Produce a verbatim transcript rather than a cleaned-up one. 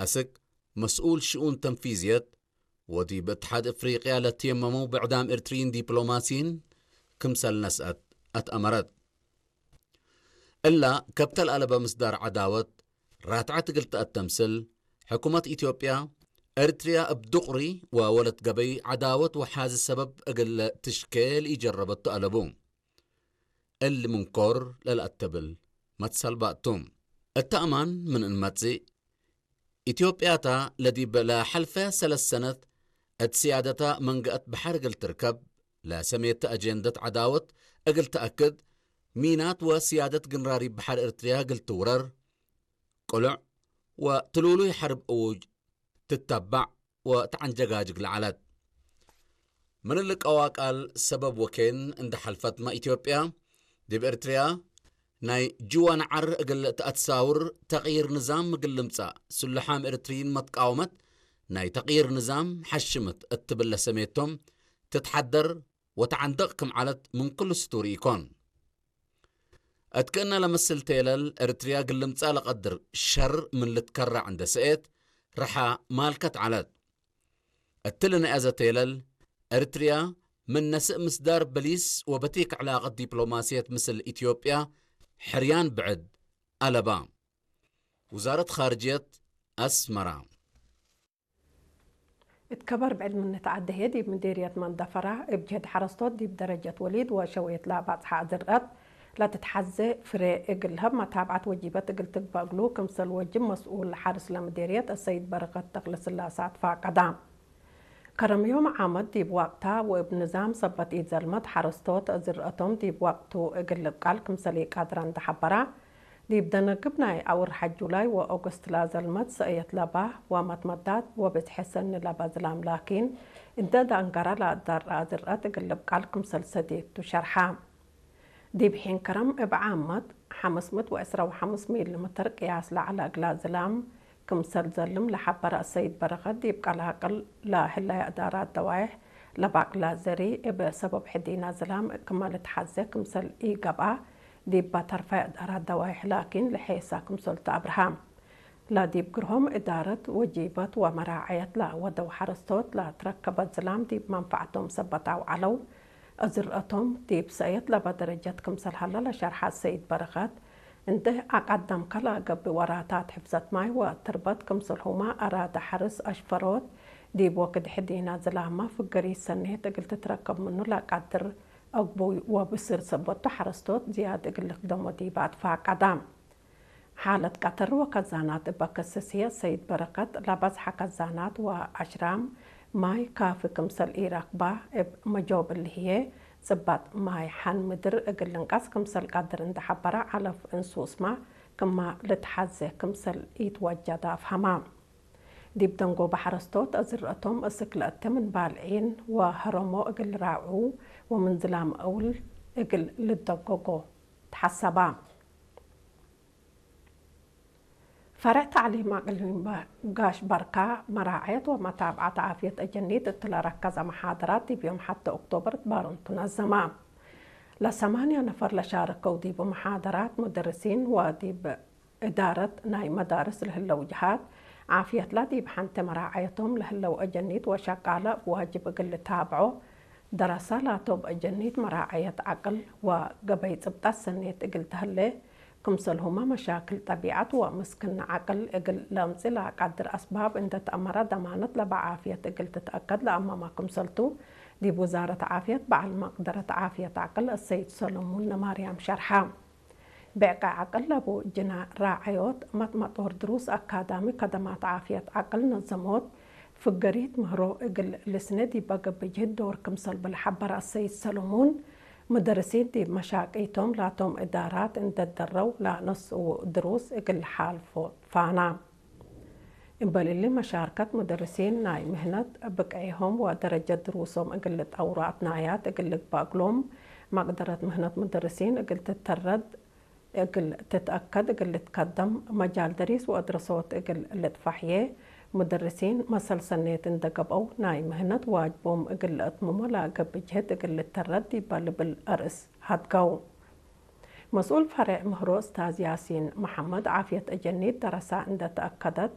አስክ መስኡል ሽኡን ተንፊዝየት ወዲብ እትሓድ እፍሪቅያ ለትየመመው ብዕዳም ኤርትርይን ዲፕሎማሲይን ክምሰል ነስአት አትአመረት። እላ ከብተ ለአለበ ምስዳር ዐዳወት ራትዐት እግል ተአተምስል፣ ሕኩመት ኢትዮጵያ፣ ኤርትርያ እብ ዱቅሪ ወወለት ገበይ ዐዳወት ወሓዚ ሰበብ እግል ትሽኬ ለኢጀረበቱ አለቡ። እሊ ምንኮር ለለአተብል መትሰል ባእቱ። እተ አማን ምን እንመጽእ፣ ኢትዮጵያታ ለዲብ ለሐልፈ ሰለስ ሰነት እት ስያደታ መንገአት በሐር እግል ትርከብ ለሰሜተ አጀንደት ዐዳወት እግል ተአክድ፣ ሚናት ወስያደት ግንራሪብ በሐር ኤርትርያ እግል ትውረር፣ ቅሉዕ ወትሉሉይ ሐርብ እዉጅ ትተባዕ ወተዐንጀጋጅግ ለዐለት። ምን እሊ ቀዋቃል ሰበብ ወኬን እንደ ሐልፈትመ፣ ኢትዮጵያ ዲብ ኤርትርያ ናይ ጅወ ነዐር እግል ተአትሳውር፣ ተቅይር ንዛም እግል ልምጸእ፣ ስሉሓም ኤርትርይን መትቃወመት ናይ ተቅይር ንዛም ሐሽምት እት ትብል ለሰሜቶም ትትሐደር ወተዐንደቅ ክም ዐለት ምን ኩሉ ስቱር ኢኮን። እት ክእነ ለምስል ቴለል፣ ኤርትርያ እግል ልምጸእ ለቀድር ሸር ምን ልትከረዕ እንደ ሰኤት፣ ረሓ ማልከት ዐለት። እትሊ ነአዘ ቴለል፣ ኤርትርያ ምን ነስእ ምስዳር በሊስ ወበቲክ ዕላቀት ዲፕሎማስየት ምስል ኢትዮጵያ ሕርያን ብዕድ አለባ። ውዛረት ኻርጅየት አስመራ። እት ከበር ብዕድ ምን ተዐደ ህዬ፣ ዲብ ምዴርየት መንደፈራ እብ ጅህድ ሐረስቶት ዲብ ደረጀት ወሊድ ወሸውየት ለባጽሐ ዝርአት ለትትሐዜ ፍሬ እግል ለሀብ መታብዐት ወጂበት እግል ትግበእ እግሉ፣ ክምሰል ወጅብ መስኡል ሐርስ ለምዴርየት አሰይድ በረከት ተክለስላሰ አትፋቀዳ። ከረም ዮም ዓመት ዲብ ወቅታ ወእብ ንዛም ሰበት ኢዘልመት ሐረስቶት ዝርአቶም ዲብ ወቅቱ እግል ልብቃል ክምሰል ኢቃድረ እንደ ሐበራ፣ ዲብ ደነግብ ናይ አውርሐ ጁላይ ወኦገስት ለዘልመት ሰእየት ለባህ ወመትመዳት ወብዝሐ ሰኒ ለበ ዝላም ላኪን፣ እንደ ደአንገረ ለአዳርአ ዝርአት እግል ልብቃል ክምሰል ሰዴት ቱ ሸርሐ። ዲብ ሒን ከረም እብ ዓመት ሐምስ ምእት ወዕስራ ወሐምስ ሚሊ ምትር ቅያስ ለዐለ እግላ ዝላም ክምሰል ዘልም ለሐበረ አሰይድ በረከት፣ ዲብ ቀላቅል ለህለየ እዳራት ደዋይሕ ለባቅላ ዘሪ እብ ሰበብ ሕዲና ዝላም ክመ ልትሐዜ ክምሰል ኢገብአ፣ ዲብ ተርፈ እዳራት ደዋይሕ ላኪን ለሔሳ ክምሰል ተአብርሃ። ለዲብ ግርሆም እዳረት ወጂበት ወመራዐየት ለወደው ሐረስቶት ለትረከበ ዝላም ዲብ መንፈዐቶም ሰበት አውዐለው። ዝርአቶም ዲብ ሰእየት ለበ ደረጀት ክምሰል ሀለ ለሸርሐ ሰይድ በረከት፣ እንዴ አቀደምከ ለገብእ ወራታት ሕፍዘት ማይ ወትርበት ክምሰልሁመ አራደ ሐርስ አሽፈሮት ዲብ ወክድ ሕዲና ዝላመ ፍገሪት ሰኔት እግል ትትረከብ ምኑ ለቀድር አግቡይ ወብስር ሰበቱ ሐረስቶት ዝያድ እግል ልክደሞ ዲበ አትፋቀደ። ሓለት ቀተር ወከዛናት እበ ከሰስየ ሰይድ በረከት፣ ለበዝሐ ከዛናት ወአሽራም ማይ ካፊ ክምሰል ኢረክባ እብ መጆብ እሊ ህዬ፣ ጽባጥ ማይ ሐን ምድር እግል ልንቀስ ክምሰል ቀድር እንደ ሐበረ፣ ዐለፍ እንሱስመ ክመ ልትሐዜ ክምሰል ኢትወጀደ አፍሀመ። ዲብ ደንጎበ ሐረስቶት ዝርአቶም እስክ ለእተ ምን ባልዒን ወሀረሞ እግል ራዕዉ ወምን ዝላም እውል እግል ልደጎጎ ተሐሰበ። ፈርዕ ተዕሊም አቅሊም ጋሽ በርካ መራዐየት ወመታብዐት ዓፍየት አጀኒት እት ለረከዘ መሓደራት ዲብ ዮም ሐቴ ኦክቶበር ባሮም ቱ ነዘመ። ለሰማንያ ነፈር ለሻረከው ዲብ መሓደራት፣ ሙደርሲን ወዲብ እዳረት ናይ መዳርስ ለህለው ጀሃት ዓፍየትላ ዲብ ሐንቴ መራዐየቶም ለህለው አጀኒት ወሸቃለ እብ ዋጅብ እግል ልታብዖ፣ ደረሰ ላቶም አጀኒት መራዐየት ዐቅል ወገበይ ጽብጠት ሰኔት እግል ተህሌ፣ ክምሰልሁመ መሻክል ጠቢዐት ወምስክነ ዐቅል እግል ለአምጽእ ለአቃድር አስባብ እንዴ ተአመረ፣ ደማነት ለበ ዓፍየት እግል ትትአከድ ለአመመ ክምሰልቱ፣ ዲብ ውዛረት ዓፍየት በዐል መቅደረት ዓፍየት ዐቅል አሰይድ ሰለሙን ነማርያም ሸርሐ። ብዕቀ ዐቅል ለቡ ጅና ራዐዮት፣ መጥመጦር ድሩስ አካዳሚ፣ ከደማት ዓፍየት ዐቅል ነዘሞት፣ ፍገሪት ምህሮ እግል ልስነ ዲበ ገብእ ጅህድ ዶር ክምሰል ብልሐበረ አሰይድ ሰለሙን፣ ሙደርሲን ዲብ መሻቂቶም ላቶም እዳራት እንዴ ደረው ለነስኡ ድሩስ እግል ለሓልፎ ፋና። እምበል እሊ፣ መሻርከት ሙደርሲን ናይ ምህነት ብቅዔሆም ወደረጀት ድሩሶም እግል ልጠውሩ አትናያት እግል ልግበእ እግሎም፣ መቅደረት ምህነት ሙደርሲን እግል ትተረድ፣ እግል ትትአከድ እግል ልትከደም፣ መጃል ደሪስ ወአድረሶት እግል ልትፋሕዬ፣ ሙደርሲን መሰል ሰኔት እንዴ ገብአው ናይ ምህነት ዋጅቦም እግል ለአትምሞ ለገብእ ጅህድ እግል ልተረድ ዲበ ልብል አርእስ ሀድገው። መስኡል ፈሬዕ ምህሮ እስታዝ ያሲን መሐመድ፣ ዓፍየት አጀኒት ደረሳ እንዴ ተአከደት፣